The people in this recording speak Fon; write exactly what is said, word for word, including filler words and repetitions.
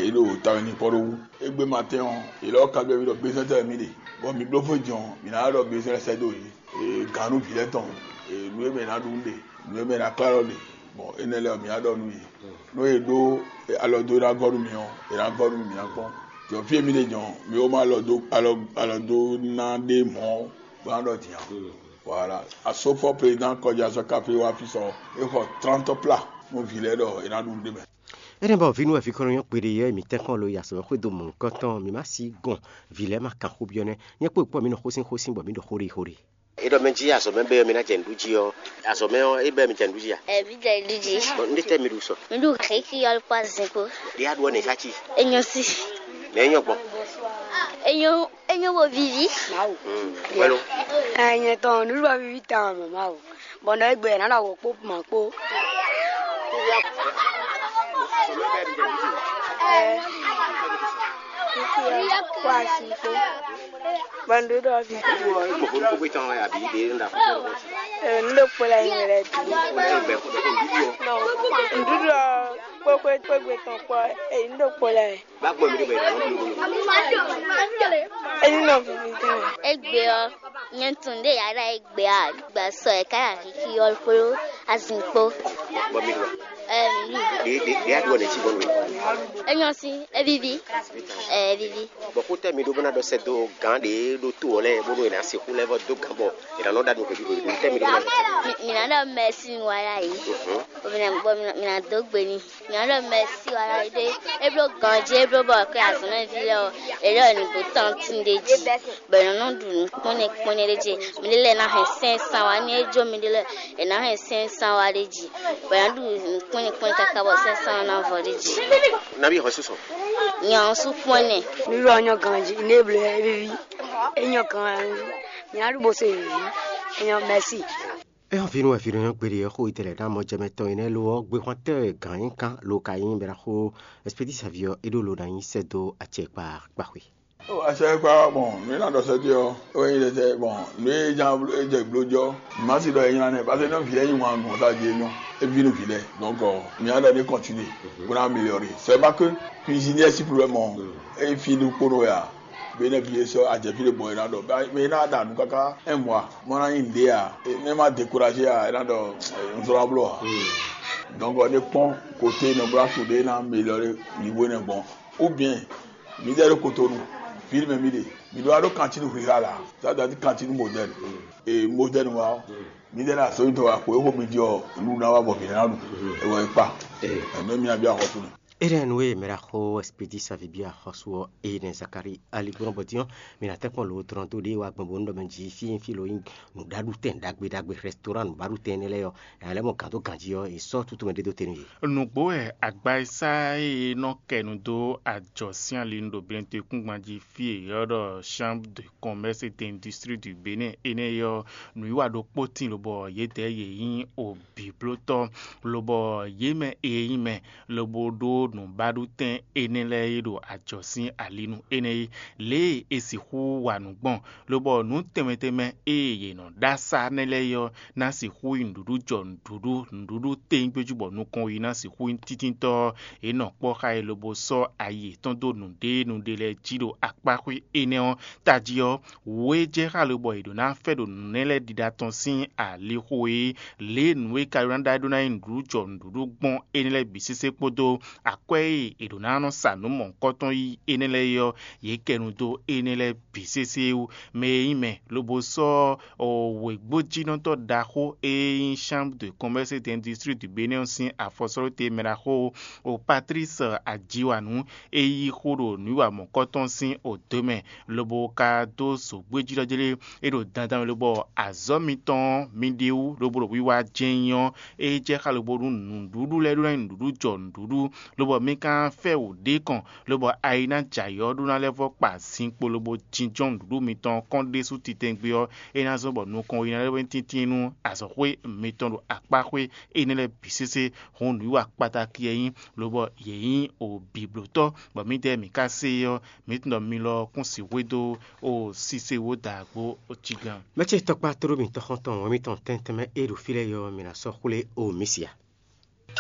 Yě ɖo tawe n'i kpɔ́ ɖó wú. Égbé ma tɛ́n ɔ́, yě lɔ ka ɖɔ mì ɖɔ bezɛ́n tɛ́ wɛ mì ɖe, bɔ mi bló fó jɔn, mǐ ná ɖɔ bezɛ́n lɛ́ɛ sɛ́ dó yě. Gǎn nú vǐ lɛ́ɛ tɔn, nǔ e mɛ è nǎ ɖu nú ɖe, nǔ e mɛ è nǎ klá lɔ ɖe. Bɔ énɛ́ lɛ́ɛ ɔ́, mǐ ná ɖɔ nú yě. Nú è ɖó alɔ dó ná gɔ́ nú mì ɔ́, è nǎ gɔ́ nú mì, mǐ ná kpɔ́n. Jɔ fí e mì ɖe jɔn, mǐ ó má alɔ dó alɔ alɔ dó ná ɖé mɔ̌ bó ná ɖɔ din ǎ. Voilà. Asófɔ président kɔjá sɔ́ káfí wá fí sɔ, é xɔ trente plats nú vǐ lɛ́ɛ ɖɔ è nǎ ɖu nǔ ɖé mɛ. Énɛ́ bɔ vǐ nú wɛ vǐ kɔn nɔ nyɔ́ kpeɖé yɛ mǐ tɛ́nkpɔ́n lo yi azɔ̌ xwedó mɔ̌hunkɔtɔn mǐ má sí gɔn vǐ lɛ́ɛ ma kan xó byɔ́ nɛ́. Nyɛ kpó kpɔ́ mǐ nɔ xósín xósín bɔ mǐ ɖo xó ɖi xó ɖi. É ɖɔ mɛ jí azɔ̌ mɛ bɛ́ ɔ́, mi ná jɛ nǔɖuɖu jí ɔ́, azɔ̌ mɛ ɔ́, é bɛ́ mi jɛ nǔɖuɖu jí a? Ɛ, mǐ jɛ nǔɖuɖu jí. Bɔ un ɖe tɛ́ mi ɖu sɔ. Mǐ ɖu xěxí ɔ́ kpó azin kpó. Ɖé a ɖu ɔ́ nɛ sá cí? É nyɔ́ sí. Nɛ é nyɔ́ gbɔn. É nyɔ́, é nyɔ́ bo víví. Wɛ́lo. Ɛ, nyɛ tɔn nǔɖuɖu ɔ́ víví tawun mɛ Mawu. Bɔ nɔ égbé ná ɖo awǒ kpó mǎ kpó. Ɛ, kó asi kpó. Bɔ nǔɖuɖu ɔ́ fi. Gbogbo gbogbo tɔn wɛ àbí ɖe ń da fún un. Ɛ, nǔɖuɖu kpó la nyɛ lɛ dùn. Nɔ, nǔɖuɖu ɔ́ kpó kpó kpó gbé tɔn kpó, ɛ, nǔɖuɖu kpó la yɛ. Bá gbọ́ mi ɖé bɔ ìdáná bí lóko lóko. Èyí nɔ vivi gan. Egbe ɔ, nyɛ tun ɖe yàrá egbe a gba sɔ ɛ ká yà kiki ɔ kpó azin kpó. Bɔ mi ɖu. Ɛ, mi ɖu. Ɖe ɖe ɖe aɖu ɔnɛ tsi bɔ mi. Enyɔ si, evivi. Ɛ, evivi. Bɔ kó tɛ mi ɖó bó ná ɖɔ sɛ dó gán ɖe ɖó tó ɔ lɛ bó ɖó yìí ná sixú lɛ vɔ dó gán bɔ yìí ná nɔ ɖa ɖo hweví hweví tɛ mi ɖó bó ná ɖɔ sɛ. Mi mi ná ɖɔ mɛsi nu wa ya yi. Bɔ mi ná bɔ mi ná dó gbe ni. Nyɔ̌nu ɖɔ mɛsi wala ɖé, é bló ganjí, é bló bɔ kɛ azɔ̌mɛví lɛ́ɛ ɔ́, è lɛ́ ɔ́ ní bó tɔ́ntin ɖé jí, bɔ è nɔ nɔ ɖu nǔ kpɔ́nɛ kpɔ́nɛ ɖé jí. Miɖée lɛ́ɛ ná hɛn sɛ́n san wá, ní é jó miɖée lɛ́ɛ, è nǎ hɛn sɛ́n san wá ɖé jí, bɔ è nǎ ɖu nǔ kpɔ́nɛ kpɔ́nɛ káká bɔ sɛ́n san ɔ́ ná vɔ ɖé jí. Nabí xɔ sísɔ. Nyɔ̌nu sú kpɔ́nɛ. Nǔɖuɖu ɔ́ nyɔ́ ganjí, ní é bló é víví, é nyɔ́ ganjí, nyɛ ná ɖu bó se vǐví, é nyɔ́ mɛsi. Ɛ ɔ́, vǐ nú wɛ vǐ nɔ nyɔ́ gbeɖé ɔ́, xó yi tɛlɛ ɖó amɔjɛmɛ tɔn e nɛ́ lo ɔ́, gbexwan tɛ́ wɛ gǎn nyí kán lo ka nyí bɛ́ ná xó Ɛspedísi ví ɔ́, é ɖó lo ná nyí sɛ́ dó acɛ kpa kpaxwe. Ó, acɛ kpa gbɔn nǔ e ná ɖɔ sɛ́ dó ɔ́, é wɛ nyí sɛ́ gbɔn nǔ e ján é jɛ bló jɔ. Mǐ má si ɖɔ é nylá nɛ́, parce que nɔ vǐ lɛ́ɛ nyí wǎn gbɔn tá jí é nyɔ́, é ví nú vǐ lɛ́ɛ. Donc, mǐ ná ɖɔ ní kɔntinu bó ná améliorer. C'est pas que cuisinier sí problème ɔ́, é fi ɖokpónɔ wɛ ǎ. Bɔ énɛ́ bǐ é sɔ́ ajɛ̌ fí ɖé bɔ é ná ɖɔ, bɔ é ná ɖa nǔ káká un mois, bó ná nyí nǔɖé ǎ. É má découragé ǎ, é ná ɖɔ un zlɔ́ ná bló ǎ. Donc, ɔ́, é kpɔ́n côté nɔ bló asu ɖé ná améliorer niveau énɛ́ gbɔn. Ou bien, mǐdɛɛ ɖo Kotonu, ville mɛ mì ɖe, mǐ ɖó wá ɖó cantine rurale ǎ, ça veut dire cantine moderne. Et moderne wá ɔ́, mǐdɛɛ ɖo azɔ̌ mitɔn wá xwe xo mì ɖi ɔ́, nǔ ná wá bɔ mǐ ná ɖu, é wɛ é kpa. Ɛnɛ mì ná byɔ́ axɔ́sú mɛ. Éɖɛ́ nú e mɛ ɖo axɔ Ɛspedísi ví byɔ́ axɔ́sú ɔ́, ée nɛ́ Zakalíi ali gbɔn bɔ din ɔ́, mi ná tɛ́nkpɔ́n lǒ dlɔ́n dó ɖě wá gbɔn bónú ɖɔ mɛ jí fí nyí fí lo nyí nǔɖaɖutɛn ɖagbe ɖagbe, rɛstoran nǔɖaɖutɛn énɛ́ lɛ́ɛ ɔ́, è nǎ lɛ́ mɔ gǎn dó ganjí ɔ́, è sɔ́ tútu mɛ ɖé dó te nú yě. Nǔgbó wɛ agba e sá e nɔ kɛ nu dó ajɔ sín ali nu ɖo Benɛtɔ́kúngban jí fí e è ylɔ́ ɖɔ Chambre de Commerce et d'Industrie du Bénin énɛ́ ɔ́, nǔwiwa ɖokpó tíin lobɔ yědɛɛ yě nyí obǐblótɔ́, lobɔ yě mɛ e nyí mɛ lobo ɖó nǔbaɖutɛn énɛ́ lɛ́ɛ e ɖo ajɔ sín ali nu énɛ́ é, lě e è sixú wa nǔ gbɔn, lobɔ nǔ tɛnmɛ tɛnmɛ e yě nɔ ɖó asá nɛ́ lɛ́ɛ é ɔ́, ná sixú nyí nǔɖuɖu jɔ nǔɖuɖu, nǔɖuɖu tɛ́ngbéjú bɔ nukɔn yi ná sixú nyí títíntɔ́ ɔ́, è nɔ kpɔ́ xá e lobo sɔ́ ayi yětɔn dó nǔɖé nǔɖé lɛ́ɛ jí ɖo akpáxwé énɛ́ ɔ́ tají ɔ́, wǔ e jɛ xá lobɔ è ɖǒ ná fɛ ɖo nǔ nɛ́ lɛ́ɛ ɖiɖa tɔn sín alixo e lě e nǔ e ka ɖó ná ɖó ná nyí nǔɖuɖu jɔ nǔɖuɖu gbɔn énɛ́ lɛ́ɛ bǐ sésé kpódó akwɛ́ e è ɖǒ ná nɔ sa nǔ mɔ̌hunkɔtɔn yí énɛ́ lɛ́ɛ é ɔ́, yě kɛ nu dó énɛ́ lɛ́ɛ bǐ sésé wú. Mɛ e nyí mɛ lobo sɔ́ wěgbójínɔtɔ́ ɖaxó e nyí Chambre de Commerce et d'Industrie du Bénin ɔ́ sín afɔsɔ́ɖóte mɛ ɖaxó o Patrice Ajiwanu e yí xó ɖo nǔwiwa mɔ̌kɔtɔn sín odǒ mɛ, lobo ka dó zǒgbéjínɔ́ jlé é ɖo dandan mɛ lobɔ azɔ̌ mitɔn ɔ́ mi ɖe wú lobo ɖo wiwa jɛ́n nyí ɔ́, é jɛ xá lobo nú nǔɖuɖu lɛ́ɛ ɖó ná nyí nǔɖuɖu jɔ nǔɖuɖu, lobɔ mi ka fɛ wǔ ɖé kɔn, lobɔ ayi ná jɛ ayǐ ɔ́ ɖó ná lɛ́ vɔ́ kpa zinkpo lobo jínjɔ́n nǔɖuɖu mitɔn kɔn ɖésú titɛngbe ɔ́, é ná zɔ́n bɔ nukɔn yi ná lɛ́ wɛ́n tíntín nú azɔ̌xwé mitɔn ɖo akpáxwé énɛ́ lɛ́ɛ bǐ sésé. Hɔn nǔwiwa kpataki e nyí, lobɔ yě nyí o bǐblótɔ́, bɔ mǐdɛɛ mǐ ka se é ɔ́, mǐ tunwun ɖɔ mi lɔ kún sixú e dó o sise wó da agbo o cí gán. Mɛ ce tɔkpá tló mitɔn xɔ́ntɔn wɛn mitɔn tɛntɛn mɛ e ɖo fí lɛ́ɛ ɔ́, mi ná sɔ́ xwlé o mǐ sia.